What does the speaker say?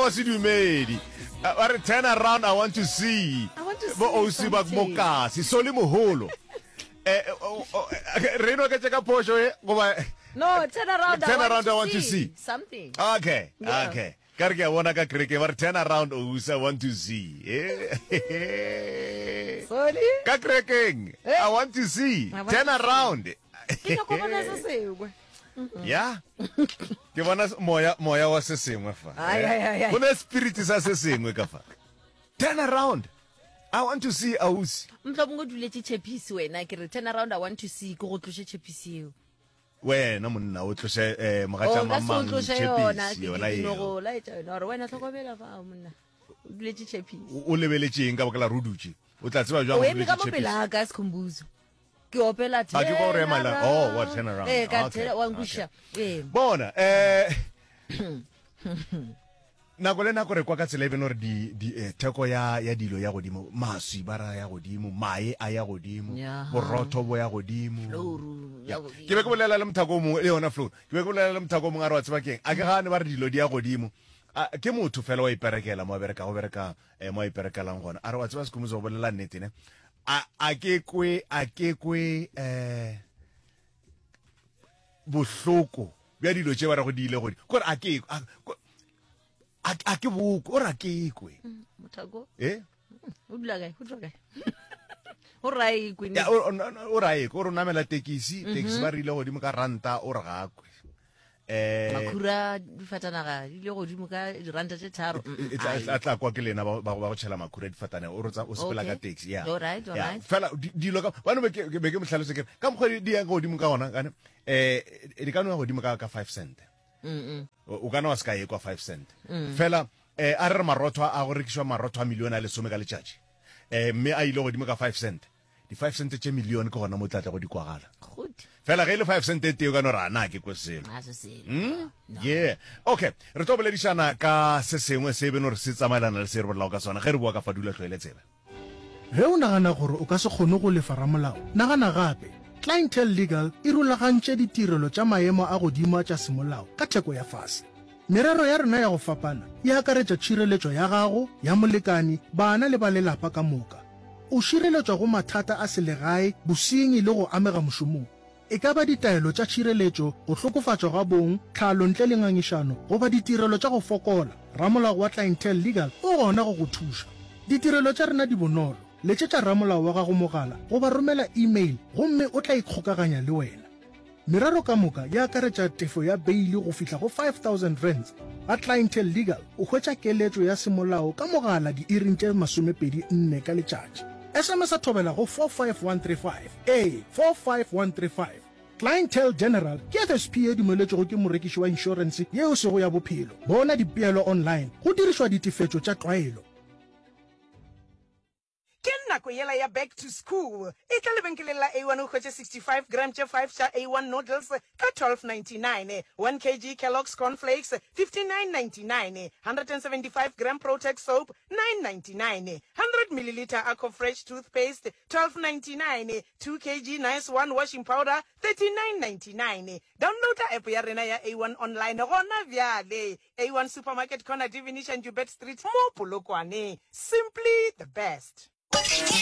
wa sedumedi. Ba re turn around I want to see. I want to Bo see ausi ba something. mokasi soli moholo. Eh, o- o- re no ke ka phošo e goba No, turn around. Turn I want around, to I want to see. something. Okay, Yeah. okay. Ka re ke a bona ka kereke ba re turn around ausi I want to see. Eh. Sorry. Ka kerekeng Eh. I want to see. I want Turn to see. around. Ke nyako bona se sengwe. Ya. Ke bona moya moya wa se sengwe fa. Ai, ai, ai, ai. Go ne spirit sa se sengwe ka fa. Turn around. I want to see ausi. Mhlomongwe o duletše tšhepisi wena ke re turn around I want to see ke go tloše tšhepisi eo. Wena monna o tloše eh, mogatša O ka se o mang tloše yona tšhepisi ke yona ke no eo. go laetša yona gore wena hlokomela fa monna o duletše tšhepisi. O o lebeletše eng ka baka la re o dutše? O tla tseba jwang O o eme ka duletše mo pele tšhepisi? ga ka Sikhumbuzo. Ke opela Ah, ke kwa o re turn ema la- around. oh, wa turn around. Ee, ka Okay, turn wa nkwešiša. Ee. Bona eh nako le nako re kwa ka tsela e bene gore di, di, eh, theko ya, ya dilo ya godimo maswi ba ra ya godimo mae a ya godimo Ya. borotho bo ya godimo Flouru Ya. ya godimo. ke be ke bolela le mothako o mongwe le yona flour ke be ke bolela le mothako o mongwe a re wa tseba keng a ke gane ba re dilo di ya godimo A, ke motho fela wa iperekela mo a bereka go bereka eh, mo a iperekelang gona a re wa tseba sekhumotso go bolela nnete ne a, a ke kwe a ke kwe eh, bohloko bja dilo tše ba rego di ile godimo kore a ke a, a, a ke bokwe o re a ke kwe Mothako eh o dula kae? O dula kae? O ra e kwe. Ya, o- o o ra e kwe, o re o namela tekisi tekisi ba re ile godimo ka ranta o re ga a kwe eh Makhura difatanaga di ile godimo ka diranta tše tharo. e- e tla- e tla kwa ke lena ba ba go tšhela makhura difatanaga o re tsa- o sepela ka Okay. taxi ya Alright, Ya, alright. fela di- dilo ka bano be ke be ke mo hlalose ke re, ka mokgwa di di yang godimo ka gona kane eh di ka no ya godimo ka ka 5 cent o ka no wa se ka ye kwa 5 cent fela eh a re re marotho a go rekišwa marotho a milione a lesome ka letšatši eh mme a ile godimo ka 5 cent di 5 cent tše milione ke gona mo tla tla go di kwagala fela ge e le 5 cent e tee o ka no re a na ke kwe selo hmm? yeah okay re tlo boledišana ka se sengwe se e beno re se tsamaelana le se re bolelago ka sona ge re boa ka fa dula tlhoele tsebe Ge o nagana gore o ka se kgone go lefa ramolao, nagana gape. Clientele Legal e rulagantše ditirelo tša maemo a godimo tša semolao ka theko ya fase. Merero ya rena ya go fapana e akaretša tšhireletšo ya gago, ya molekani, bana le ba lelapa ka moka. O šireletšwa go mathata a selegae, bosenyi le go amega mošomong. E ka ba ditaelo tša tšhireletšo, go hlokofatšwa ga bong, tlhalo ntle le ngangišano, goba ditirelo tša go fokola, ramolao wa Clientele Legal o gona go go thuša. Ditirelo tša rena di bonolo. Letšetša ramolao wa gago mogala goba romela e-mail gomme o tla ikgokaganya le wena. Merero ka moka e akaretša tefo ya beili go fihla go R5000. Ga Clientele Legal o hwetša keletšo ya semolao ka mogala diiring tše 24 ka letšatši. SMS-a thobela go 45135. Ee, 45135. Clientele General ke FSP ye dumeletšwego ke morekiši wa inšorense ye e sego ya bophelo. Bona dipeelo online go dirišwa ditefetšo tša tlwaelo. Ke nako yela ya back to school. Etla lebenkeleng la A1 o hwetše 65 gram tše 5 tša A1 noodles ka 12.99, 1 kg Kellogg's Corn Flakes 59.99, 175 gram Protex soap 9.99, 100 milliliter Aquafresh toothpaste 12.99, 2 kg Nice One washing powder 39.99. Downloada app ya rena ya A1 online gona bjale. A1 Supermarket Corner Divination Joubert Street mo Polokwane. Simply the best.